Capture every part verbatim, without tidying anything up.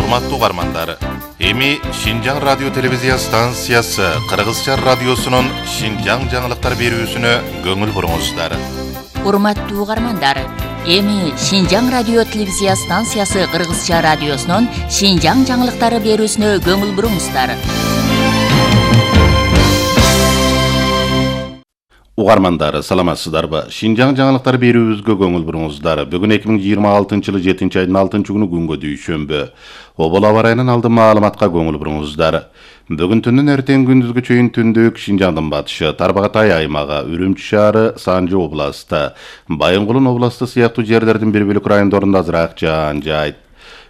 Урматтуу угармандар, эми Шинжаң радио телевизия станциясы Кыргызча радиосунун Шинжаң жаңылыктар берүүсүнө көңүл буруңуздар. Урматтуу угармандар, эми Шинжаң радио телевизия станциясы Кыргызча радиосунун Шинжаң жаңылыктары берүүсүнө көңүл буруңуздар. Угармандар, саламатсыздарбы? Шинжаң жаңылыктар берүүбүзгө көңүл буруңуздар. Бүгүн эки миң жыйырма алтынчы жылы жетинчи айдын алтынчы күнү күнгө дүйшөмбү. Обол аба ырайынын алдын маалыматка көңүл буруңуздар. Бүгүн түндүн эртең күндүзгү чейин түндүк Шинжаңдын батышы, Тарбагатай аймагы, Үрүмчү шаары, Санжы областы, Байынгулун областы сыяктуу жерлердин бир бөлүк райондорунда азыраак жаан жайт.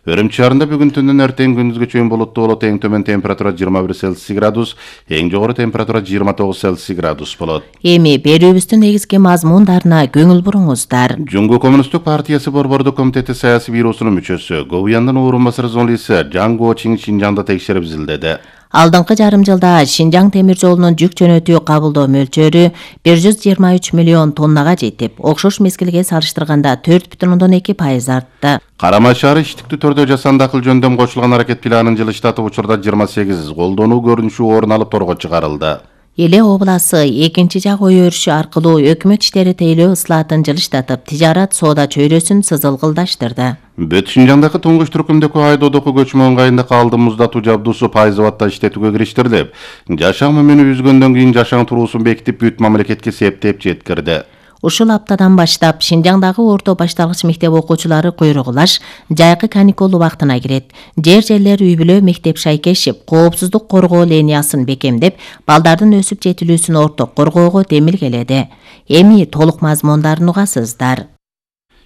Үрүмчү шаарында бүгүн түндүн эртең күндүзгү чейин булуттуу болот, эң төмөн температура жыйырма бир Цельсий градус, эң жогору температура жыйырма тогуз Цельсий градус болот. Эми берүүбүздүн негизги мазмундарына көңүл буруңуздар. Жумгу коммунисттик партиясы борбордук комитети саясий бюросунун мүчөсү, Говуяндын орун басары журналисти Жаң Го-Чинь Шинжаңда текшерип изилдеди. Алдыңкы жарым жылда Шинжаң темир жолунун жүк жөнөтүү кабылдоо мөлчөрү бир жүз жыйырма үч миллион тоннага жетип, окшош мезгилге салыштырганда төрт бүтүн ондон эки пайыз артты. Карама шаары иштиктүү түрдө жасанды акыл жөндөм кошулган аракет планын жылыштатып учурда жыйырма сегиз колдонуу көрүнүшү орун алып торго чыгарылды. Эле обласы экинчи жак ой өрүшү аркылуу өкмөт иштери тейлөө ыслаатын жылыштатып, тижарат соода чөйрөсүн сызылгылдаштырды. Бүт Шинжаңдагы туңгуч түркүмдөгү айдоодогу көчмө ыңгайында калды муздатуу жабдуусу пайызыбатта иштетүүгө кириштирилип, жашаң мөмүнү үзгөндөн кийин жашаң туруусун бекитип бүт мамлекетке септеп жеткирди. Ушул аптадан баштап Шинжаңдагы орто башталгыч мектеп окуучулары куйругулаш жайкы каникул убактына кирет. Жер жерлер үй бүлө мектеп шайкешип, коопсуздук коргоо линиясын бекемдеп, балдардын өсүп жетилүүсүн орток коргоого демилгеледи. Эми толук мазмундарын угасыздар.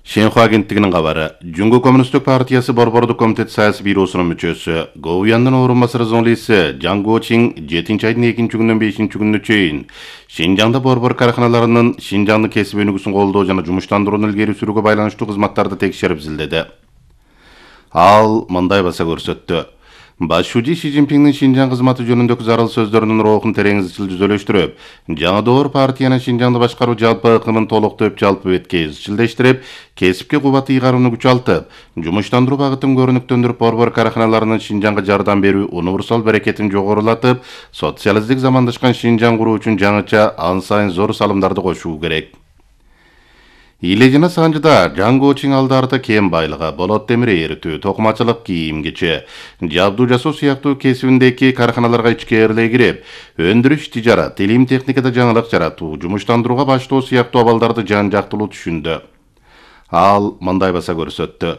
Шенху агенттигинин кабары. Жумгу коммунисттик партиясы борбордук комитет саясий бюросунун мүчөсү, Говуяндын орун басары журналисти Жаң Го-Чинь жетинчи айдын экинчи күнүнөн бешинчи күнүнө чейин Шинжаңда борбор караханаларынын Шинжаңдын кесип өнүгүүсүн колдоо жана жумуштандырууну илгери сүрүүгө байланыштуу кызматтарды текшерип изилдеди. Ал мындай баса көрсөттү. Башчы Си Цзиньпиндин Шинжаң кызматы жөнүндөгү зарыл сөздөрүнүн роохун терең изчил түзөлөштүрүп, жаңы доор партиянын Шинжаңды башкаруу жалпы ыкымын толуктоп жалпы бетке изчилдештирип, кесипке кубат ыйгарууну күчалтып, жумуштандыруу багытын көрүнүктөндүрүп, борбор караханаларынын Шинжаңга жардам берүү универсал берекетин жогорулатып, социалисттик замандашкан Шинжаң куруу үчүн жаңыча ан сайын зор салымдарды кошуу керек. Иле жана Санжыда Жаң Го-Чинь алдарда кем байлыгы, болот темир эритүү, токумачылык, кийим кече, жабдуу жасоо сыяктуу кесибиндеги караханаларга ичкээрлей кирип, өндүрүш, тижарат, илим техникада жаңылык жаратуу, жумуштандырууга баштоо сыяктуу абалдарды жан жактылуу түшүндү. Ал мындай баса көрсөттү.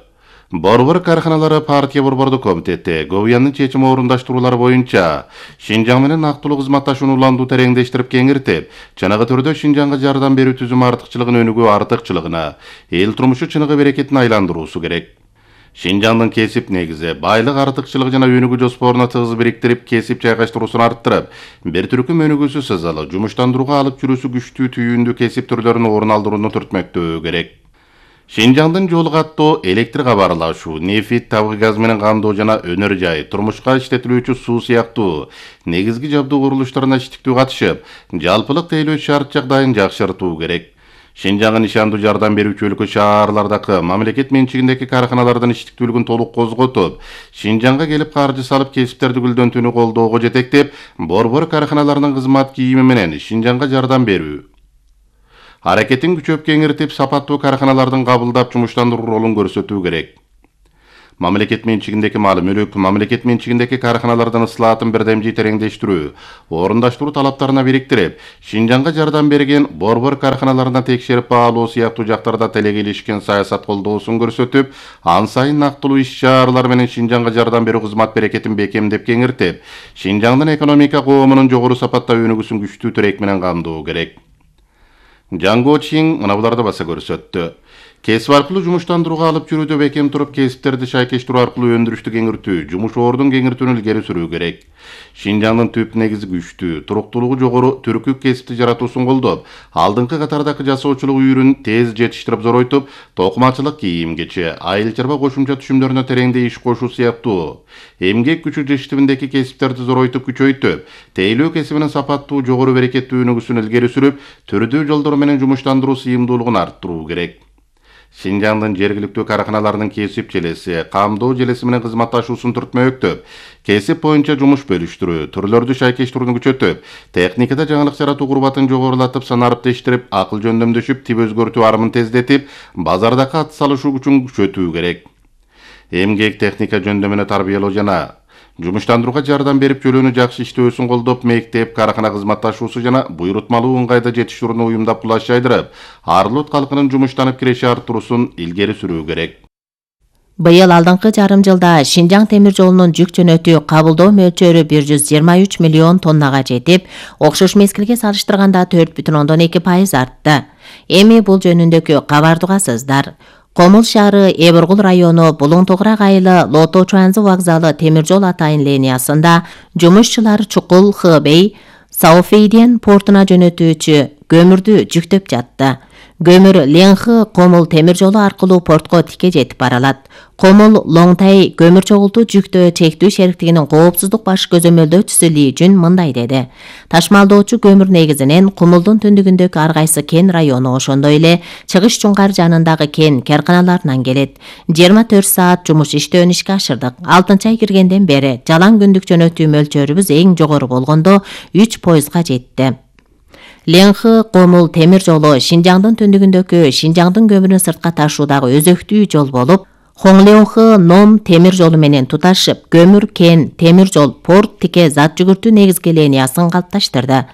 Борбор караханалары партия борбордук комитети Говуяндын чечими орундаштыруулары боюнча Шинжаң менен актылуу кызматташууну уландуу тереңдештирип кеңиртип, чыныгы түрдө Шинжаңга жардам берүү түзүмү артыкчылыгын өнүгүү артыкчылыгына, эл турмушу чыныгы берекетин айландыруусу керек. Шинжаңдын кесип негизи, байлык артыкчылыгы жана өнүгүү жоспоруна тыгыз бириктирип, кесип жайгаштыруусун арттырып, бир түркүм өнүгүүсү сызалы, жумуштандырууга алып жүрүүсү күчтүү түйүндүү кесип түрлөрүн орун алдырууну түртмөктөө керек. Шинжаңдын жол каттоо, электр кабарлашуу, нефть, табык газ менен камдоо жана өнөр жай, турмушка иштетилүүчү суу сыяктуу негизги жабдуу курулуштарына иштиктүү катышып, жалпылык тейлөө шарт жагдайын жакшыртуу керек. Шинжаңга ишандуу жардам берүүчү өлкө шаарлардагы мамлекет менчигиндеги караханалардын иштиктүүлүгүн толук козготуп, Шинжаңга келип каржы салып кесиптерди гүлдөнтүүнү колдоого жетектеп, борбор караханаларынын кызмат кийими менен Шинжаңга жардам берүү аракетин күчөп кеңиртип, сапаттуу караханалардын кабылдап жумуштандыруу ролун көрсөтүү керек. Мамлекет менчигиндеги мал мүлүк, мамлекет менчигиндеги караханалардын ыслаатын бирдемжий тереңдештирүү, орундаштыруу талаптарына бириктирип, Шинжаңга жардам берген борбор караханаларына текшерип баалоо сыяктуу жактарда телегелишкен саясат колдоосун көрсөтүп, ан сайын нактылуу иш-чаралар менен Шинжаңга жардам берүү кызмат берекетин бекемдеп кеңиртип, Шинжаңдын экономика коомунун жогору сапатта өнүгүүсүн күчтүү тирек менен камдоо керек. Жаң Го-Чинь мына буларды баса көрсөттү. Кесип аркылуу жумуштандырууга алып жүрүүдө бекем туруп, кесиптерди шайкештирүү аркылуу өндүрүштү кеңиртүү, жумуш ордун кеңиртүүнү илгери сүрүү керек. Шинжаңдын түп негизи күчтүү, туруктуулугу жогору түркүк кесипти жаратуусун колдоп, алдыңкы катардагы жасоочулук үйрүн тез жетиштирип зоройтуп, токумачылык, кийим кече, айыл чарба кошумча түшүмдөрүнө тереңдей иш кошуу сыяктуу эмгек күчү жиштибиндеги кесиптерди зоройтуп күчөйтүп, тейлөө кесибинин сапаттуу, жогору берекеттүү өнүгүүсүн илгери сүрүп, түрдүү жолдор менен жумуштандыруу сыйымдуулугун арттыруу керек. Шинжаңдын жергиликтүү караканаларынын кесип желеси, камдоо желеси менен кызматташуусун түртмөктөп, кесип боюнча жумуш бөлүштүрүү, түрлөрдү шайкештирүүнү күчөтүп, техникада жаңылык жаратуу курбатын жогорулатып, санарыптештирип, акыл жөндөмдөшүп, тип өзгөртүү арымын тездетип, базардагы ат салышуу күчүн күчөтүү керек. Эмгек техника жөндөмүнө тарбиялоо жана жумуштандырууга жардам берип, жөлөөнү жакшы иштөөсүн колдоп, мектеп, каракана кызматташуусу жана буйрутмалуу ыңгайда жетиштирүүнү уюмдап кулаш жайдырып, Арлот калкынын жумуштанып киреши арттыруусун илгери сүрүү керек. Быйыл алдыңкы жарым жылда Шинжаң темир жолунун жүк жөнөтүү кабылдоо мөлчөрү бир жүз жыйырма үч миллион тоннага жетип, окшош мезгилге салыштырганда төрт бүтүн ондон эки пайыз артты. Эми бул жөнүндөгү кабарды угасыздар. Комул шаары, Эбургул району, Булуң Тогурак айылы, Лото Чуанзы вокзалы темир жол атайын линиясында жумушчулар Чукул, Хэбэй, Саофейден портуна жөнөтүүчү көмүрдү жүктөп жатты. Көмүр Ленхы Комул темир жолу аркылуу портко тике жетип баралат. Комул Лоңтай көмүр чогултуу жүктөө чектүү шериктигинин коопсуздук баш көзөмөлдөөчүсү Ли Жүн мындай деди. Ташмалдоочу көмүр негизинен Кумулдун түндүгүндөгү ар кайсы кен району, ошондой эле Чыгыш Чуңкар жанындагы кен карканаларынан келет. жыйырма төрт саат жумуш иштөөнү ишке ашырдык. алтынчы ай киргенден бери жалаң күндүк жөнөтүү мөлчөрүбүз эң жогору болгондо үч пайызга жетти. Ленхы Комул темир жолу Шинжаңдын түндүгүндөгү Шинжаңдын көмүрүн сыртка ташуудагы өзөктүү жол болуп, Хоңлеонхы Ном темир жолу менен туташып, көмүр, кен, темир жол, порт, тике зат жүгүртүү негизги линиясын калыпташтырды.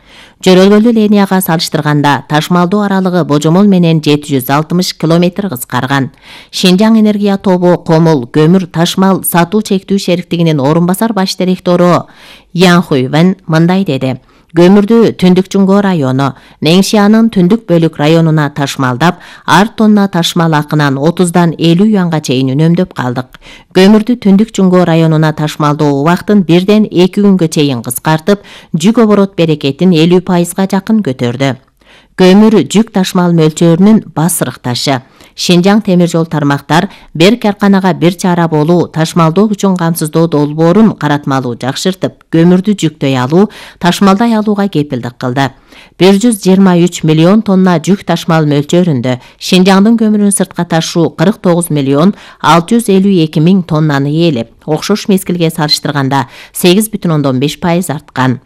Жөрөлгөлүү линияга салыштырганда ташмалдоо аралыгы божомол менен жети жүз алтымыш километр кыскарган. Шинжаң энергия тобу Комул көмүр ташмал сатуу чектүү шериктигинин орун басар баш директору Ян Хуйвен мындай деди. Көмүрдү Түндүк Чуңго району, Неңшиянын түндүк бөлүк районуна ташмалдап, ар тонна ташмал акынан отуздан элүү юанга чейин үнөмдөп калдык. Көмүрдү Түндүк Чуңго районуна ташмалдоо убактын бирден эки күнгө чейин кыскартып, жүк оборот берекетин элүү пайызга жакын көтөрдү. Көмүр жүк ташмал мөлчөрүнүн басырык ташы. Шинжаң темир жол тармактар бир карканага бир чара болуу, ташмалдоо үчүн камсыздоо долбоорун каратмалуу жакшыртып, көмүрдү жүктөй алуу, ташмалдай алууга кепилдик кылды. бир жүз жыйырма үч миллион тонна жүк ташмал мөлчөрүндө Шинжаңдын көмүрүн сыртка ташуу кырк тогуз миллион алты жүз элүү эки миң тоннаны ээлеп, окшош мезгилге салыштырганда сегиз бүтүн ондон беш пайыз арткан.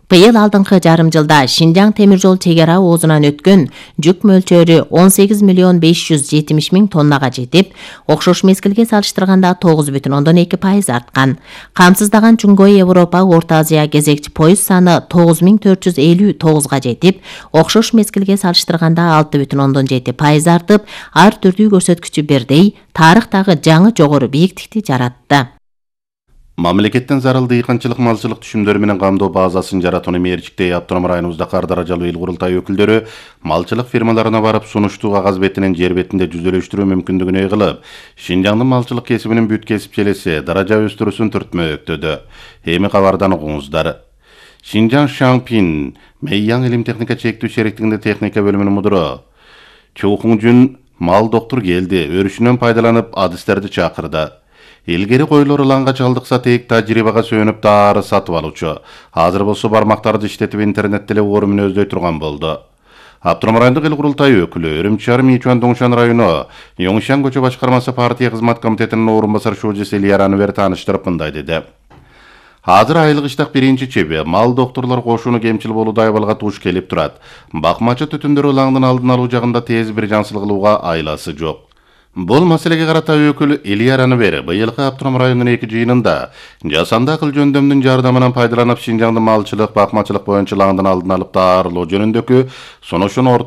Быйыл алдыңкы жарым жылда Шинжаң темир жол чек ара оозунан өткөн жүк мөлчөрү он сегиз миллион беш жүз жетимиш миң тоннага жетип, окшош мезгилге салыштырганда тогуз бүтүн ондон эки пайыз арткан. Камсыздаган Чуңго Европа, Орто Азия кезекчи поезд саны тогуз миң төрт жүз элүү тогузга жетип, окшош мезгилге салыштырганда алты бүтүн ондон жети пайыз артып, ар түрдүү көрсөткүчү бирдей, тарыхтагы жаңы жогору бийиктикти жаратты. Мамлекеттен зарыл дыйканчылык малчылык түшүмдөрү менен камдоо базасын жаратууну мерчиктей Автоном районубузда кар даражалуу эл курултай өкүлдөрү малчылык фирмаларына барып сунуштуу кагаз бетинен жер бетинде жүзөлөштүрүү мүмкүндүгүн ой кылып, Шинжаңдын малчылык кесибинин бүт кесип желеси даража өстүрүүсүн түртмөктөдү. Эми кабардан угуңуздар. Шинжаң Шаңпин Мэйяң илим техника чектүү шериктигинде техника бөлүмүнүн мудуру Чоухуңжун мал доктур келди, өрүшүнөн пайдаланып адистерди чакырды. Илгери койлор ылаңга чалдыкса тек тажрыйбага сүйөнүп дары сатып алуучу. Азыр болсо бармактарды иштетип интернетте эле орун өздөй турган болду. Автоном райондук эл курултай өкүлү Үрүмчү шаары Мичуан Доңшан району Yongshan көчө башкармасы партия кызмат комитетинин орун басар шожеси Ильяраны бер тааныштырып мындай деди. Азыр айлык иштак биринчи чеби мал доктурлар кошууну кемчил болууда айбалга туш келип турат. Бакмачы түтүндөрү ылаңдын алдын алуу жагында тез бир жаңсыл кылууга айласы жок. Бул маселеге карата өкүл Ильяраны бери быйылкы Автоном районунун эки жыйынында жасанды акыл жөндөмдүн жардамынан пайдаланып Шинжаңдын малчылык, бакмачылык боюнча ылаңдын алдын алып даарылоо жөнүндөгү сунушун